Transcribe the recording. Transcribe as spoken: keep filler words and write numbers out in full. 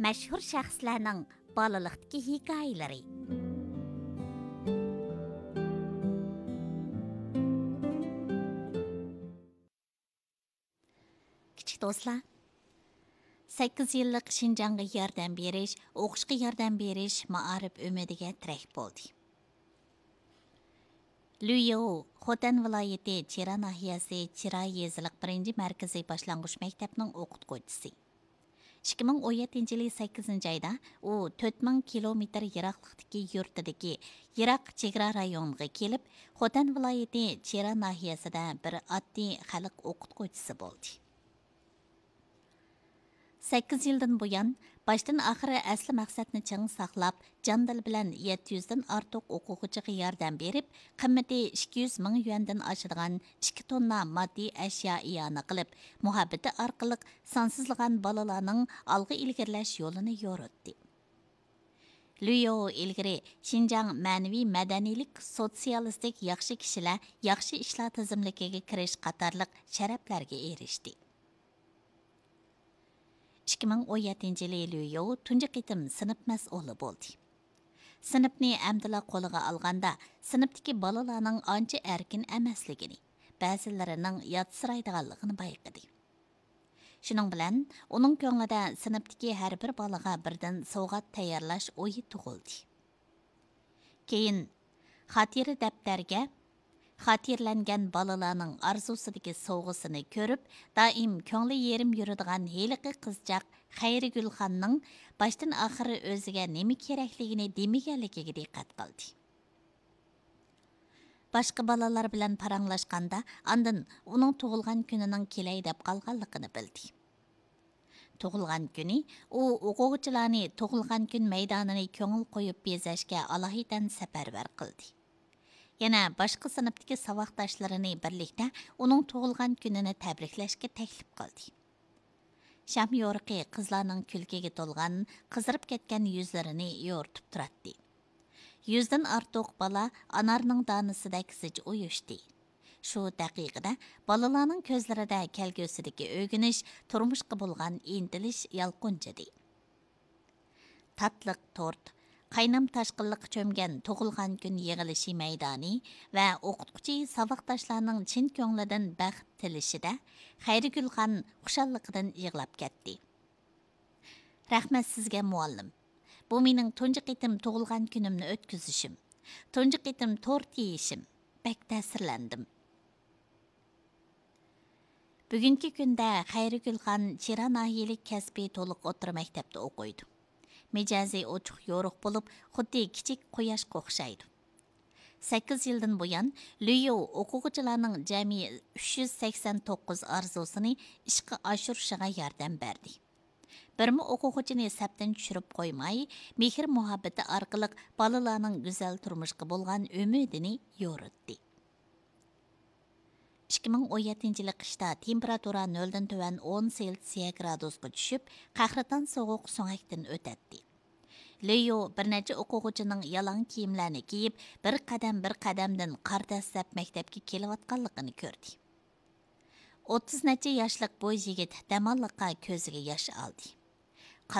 مەشھۇر شەخسلەرنىڭ بالىلىقتىكى ھېكايىلىرى. كىچىك دوستلار، سەككىز يىللىق شىنجاڭغا ياردەم بېرىش، ئوقۇشقا ياردەم بېرىش مائارىپ ئۈمىدىگە تىرەك بولدى. لۈييو، خوتەن ۋىلايىتى چىرا ناھىيەسى چىرا يېزىلىق بىرىنچى مەركىزىي باشلانغۇچ مەكتەپنىڭ ئوقۇتقۇچىسى. ئىككى مىڭ ئون يەتتىنچى يىلى سەككىزىنچى ئايدا ئۇ تۆت مىڭ كىلومېتىر يىراقلىقتىكى يۇرتىدىكى يىراق چېگرا رايونىغا كېلىپ، خوتەن ۋىلايىتى چىرا ناھىيەسىدە بىر ئاددىي خەلق ئوقۇتقۇچىسى بولدى. سەككىز يىلدىن بۇيان، باشتىن ئاخىر ئەسلى مەقسەتنى چىڭ ساقلاپ، جان دىل بىلەن يەتتە يۈزدىن ئارتۇق ئوقۇغۇچىغا ياردەم بېرىپ، قىممىتى ئىككى يۈز مىڭ يۈەندىن ئاشىدىغان ئىككى توننا ماددىي ئەشيا ئىئانە قىلىپ، مۇھەببىتى ئارقىلىق سانسىزلىغان بالىلارنىڭ ئالغا ئىلگىرىلەش يولىنى يورۇتتى. لۈيو ئىلگىرى شىنجاڭ مەنىۋى مەدەنىيلىك سوتسىيالىستىك ياخشى كىشىلەر، ياخشى ئىشلار تىزىملىكىگە كىرىش قاتارلىق شەرەپلەرگە ئېرىشتى. ئىككى مىڭ ئون يەتتىنچى يىلى لۈيو تۇنجى قېتىم سىنىپ مەسئۇلى بولدى. سىنىپنى ئەمدىلا قولىغا ئالغاندا، سىنىپتىكى بالىلارنىڭ ئانچە ئەركىن ئەمەسلىكىنى، بەزىلىرىنىڭ ياتسىرايدىغانلىقىنى بايقىدى. شۇنىڭ بىلەن، ئۇنىڭ كۆڭلىدە سىنىپتىكى ھەر بىر بالىغا بىردىن سوۋغات تەييارلاش ئويى تۇغۇلدى. كېيىن، خاتىرە دەپتەرگە خاتىرىلەنگەن بالىلارنىڭ ئارزۇسىدىكى سوۋغىسىنى كۆرۈپ، دائىم كۆڭلى يېرىم يۈرىدىغان ھېلىقى قىزچاق خەيرىگۈلخاننىڭ باشتىن ئاخىر ئۆزىگە نېمە كېرەكلىكىنى دېمىگەنلىكىگە دىققەت قىلدى. باشقا بالىلار بىلەن پاراڭلاشقاندا، ئاندىن ئۇنىڭ تۇغۇلغان كۈنىنىڭ كېلەي دەپ قالغانلىقىنى بىلدى. تۇغۇلغان كۈنى ئۇ ئوقۇغۇچىلارنى تۇغۇلغان كۈن مەيدانىنى كۆڭۈل قويۇپ بېزەشكە ئالاھىدەن سەپەرۋەر قىلدى. يەنە باشقا سىنىپتىكى ساۋاقداشلىرىنى بىرلىكتە ئۇنىڭ تۇغۇلغان كۈنىنى تەبرىكلەشكە تەكلىپ قىلدى. شام يورۇقى قىزلارنىڭ كۈلكىگە تولغان، قىزىرىپ كەتكەن يۈزلىرىنى يورۇتۇپ تۇراتتى. يۈزدىن ئارتۇق بالا ئانارنىڭ دانىسىدەك زىچ ئۇيۇشتى. شۇ دەقىقىدە بالىلارنىڭ كۆزلىرىدە كەلگۈسىدىكى ئۆگىنىش، تۇرمۇشقا بولغان ئىنتىلىش يالقۇنجىدى. تاتلىق تورت، قاينام تاشقىنلىققا چۆمگەن تۇغۇلغان كۈن يىغىلىشى مەيدانى ۋە ئوقۇتقۇچى ساۋاقداشلارنىڭ چىن كۆڭلىدىن بەخت تىلىشىدە، خەيرىگۈلخان خۇشاللىقىدىن يىغلاپ كەتتى. رەھمەت سىزگە، مۇئەللىم. بۇ مېنىڭ تۇنجى قېتىم تۇغۇلغان كۈنۈمنى ئۆتكۈزۈشۈم. تۇنجى قېتىم تورت يېيىشىم. بەك تەسىرلەندىم. بۈگۈنكى كۈندە خەيرىگۈلخان چىرا ناھىيەلىك كەسپىي تولۇق ئوتتۇرا مەكتەپتە ئوقۇيدۇ. مىجەزى ئوچۇق يورۇق بولۇپ، خۇددى كىچىك قۇياشقا ئوخشايدۇ. سەككىز يىلدىن بۇيان، لۈييۇ ئوقۇغۇچىلارنىڭ جەمئىي ئۈچ يۈز سەكسەن توققۇز ئارزۇسىنى ئىشقا ئاشۇرۇشىغا ياردەم بەردى. بىرمۇ ئوقۇغۇچىنى سەپتىن چۈشۈرۈپ قويماي، مېھىر مۇھەببىتى ئارقىلىق بالىلارنىڭ گۈزەل تۇرمۇشقا بولغان ئۈمىدىنى يورۇتتى. ئىككى مىڭ ئون يەتتىنچى يىلى قىشتا تېمپېراتۇرا نۆلدىن تۆۋەن ئون سېلسىيە گرادۇسقا چۈشۈپ، قەھرىتان سوغۇق سۆڭەكتىن ئۆتەتتى. لېيو بىر نەچچە ئوقۇغۇچىنىڭ يالاڭ كىيىملەرنى كىيىپ، بىر قەدەم بىر قەدەمدىن قار دەسسەپ مەكتەپكە كېلىۋاتقانلىقىنى كۆردى. ئوتتۇز نەچچە ياشلىق بۇ يىگىت دەماللىققا كۆزىگە ياش ئالدى.